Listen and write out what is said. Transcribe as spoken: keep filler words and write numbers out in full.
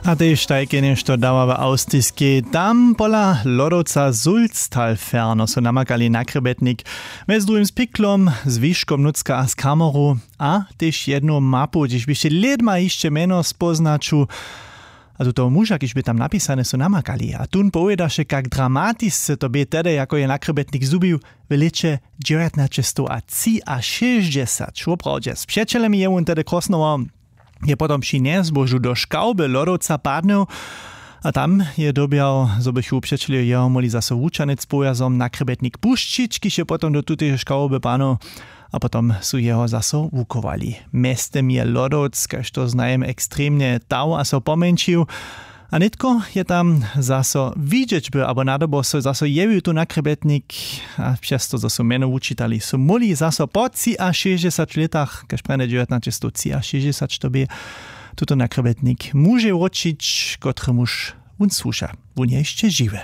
A tež tajke něšto dawa w awstriskej. Tam pola lodowca sulztalferno su namakali na krjebetnik, mjez druhim z piklom, z wiškom nutřka a z kameru, a tež jednu mapu, hdźež běše lědma hišće mjeno spóznaću. A tutoho muža, kiž bě tam napisane, su namakali, a tón powědaše, kak dramatisce to bě tehdy, jako je na krjebetnik zhubił w lěće dźewjatnaćestow a třiašěsćdźesat. Woprawdźe, z přećelemi je wón tehdy krosnował. Je potom při njezbožu do škawby lodowca padnył, a tam je dyrbjał, zo bychu přećeljo jeho móhli zaso wučanec powjazom na krjebetnik pušćić, kiž je potom do tuteje škawby padnył, a potom su jeho zaso wuchowali. Mjeztym je lodowc, kaž to znajem, ekstremnje tał a so pomjeńšił. A nětko je tam zaso widźeć by, abo nadobo so zaso jewił tu na krjebetnik. A přez to, zo su mjeno wučitali, su móhli zaso po třiašěsćdźesat lětach, kaž prjene dźewjatnaćestow třiašěsćdźesat to bě, tuto na krjebetnik mužej wróćić, kotremuž wón słuša. Wón je hišće žiwy.